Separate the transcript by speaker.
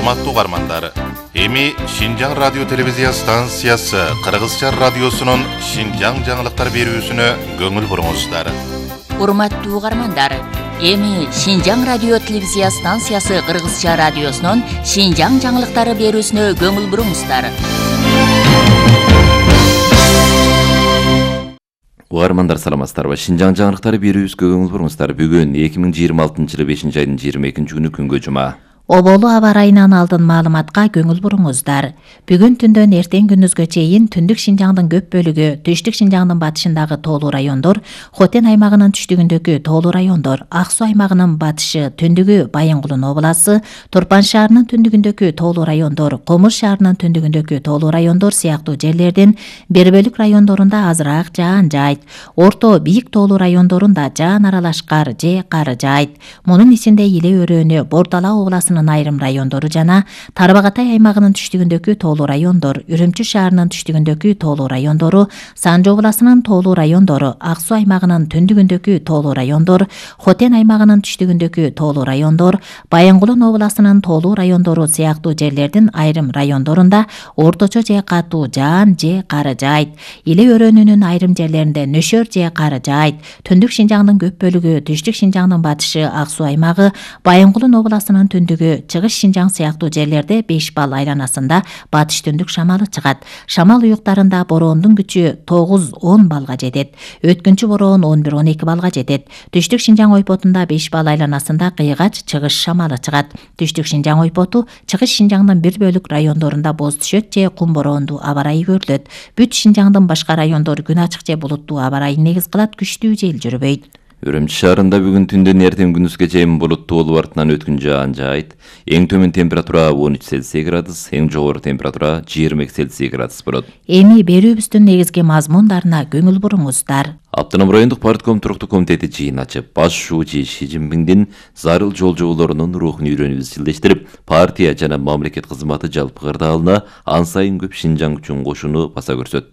Speaker 1: Урматтуу угармандар, эми Шинжаң радио телевизия станциясы Кыргызча радиосунун Шинжаң жаңылыктар берүүсүнө көңүл буруңуздар.
Speaker 2: Урматтуу угармандар, эми Шинжаң радио телевизия станциясы Кыргызча радиосунун Шинжаң жаңылыктары берүүсүнө көңүл буруңуздар.
Speaker 3: Угармандар саламатсыздарбы? Шинжаң жаңылыктары берүүбүзгө көңүл буруңуздар. Бүгүн 2026-жылы 5-айдын 22-күнү күнгө жума.
Speaker 4: Оболу аба ырайынан алдын маалыматка көңүл буруңуздар. Бүгүн түндөн эртең күндүзгө чейин түндүк Шинжаңдын көп бөлүгү, түштүк Шинжаңдын батышындагы тоолуу райондор, Хотен аймагынын түштүгүндөгү тоолуу райондор, Ак Суу аймагынын батышы, түндүгү Байынгулун обласы, Турпан шаарынын түндүгүндөгү тоолуу райондор, Комур шаарынын түндүгүндөгү тоолуу райондор сыяктуу жерлердин бир бөлүк райондорунда азыраак жаан жаайт. Орто бийик тоолуу райондорунда жаан аралаш кар же кар жаайт. Мунун ичинде Иле өрөөнү, Бордала обласынын айрым райондору жана Тарбагатай аймагынын түштүгүндөгү тоолуу райондор, Үрүмчү шаарынын түштүгүндөгү тоолуу райондору, Санжы обласынын тоолуу райондору, Ак Суу аймагынын түндүгүндөгү тоолуу райондор, Хотен аймагынын түштүгүндөгү тоолуу райондор, Байынгулун обласынын тоолуу райондору сыяктуу жерлердин айрым райондорунда орточо же катуу жаан же кар жаайт. Иле өрөөнүнүн айрым жерлеринде нөшөр же кар жаайт. Түндүк Шинжаңдын көп бөлүгү, түштүк Шинжаңдын батышы, Ак Суу аймагы, Байынгулун обласынын түндүгү, Чыгыш Шинжаң сыяктуу жерлерде 5 балл айланасында батыш түндүк шамалы чыгат. Шамал уюктарында бороондун күчү 9-10 балга жетет. Өткүнчү бороон 11-12 балга жетет. Түштүк Шинжаң ойпотунда 5 балл айланасында кыйгач чыгыш шамалы чыгат. Түштүк Шинжаң ойпоту Чыгыш Шинжаңдын бир бөлүк райондорунда боз түшөт же кум бороондуу аба ырайы көрүлөт. Бүт Шинжаңдын башка райондору күн ачык же булуттуу аба ырайын негиз кылат, күчтүү жел жүрбөйт.
Speaker 3: Үрүмчү шаарында бүгүн түндөн эртең күндүзгө чейин булуттуу болуп артынан өткүн жаан жаайт. Эң төмөн температура 13 Цельсий градус, эң жогору температура 20 Цельсий градус болот.
Speaker 4: Эми берүүбүздүн негизги мазмундарына көңүл буруңуздар.
Speaker 3: Автоном райондук партком туруктуу комитети жыйын ачып, баш шуучу Ши Цзиньпиндин зарыл жол жоболорунун рухун үйрөнүүбүз жылдештирип, партия жана мамлекет кызматы жалпы кырдаалына ан сайын көп Шинжаң үчүн кошууну баса көрсөттү.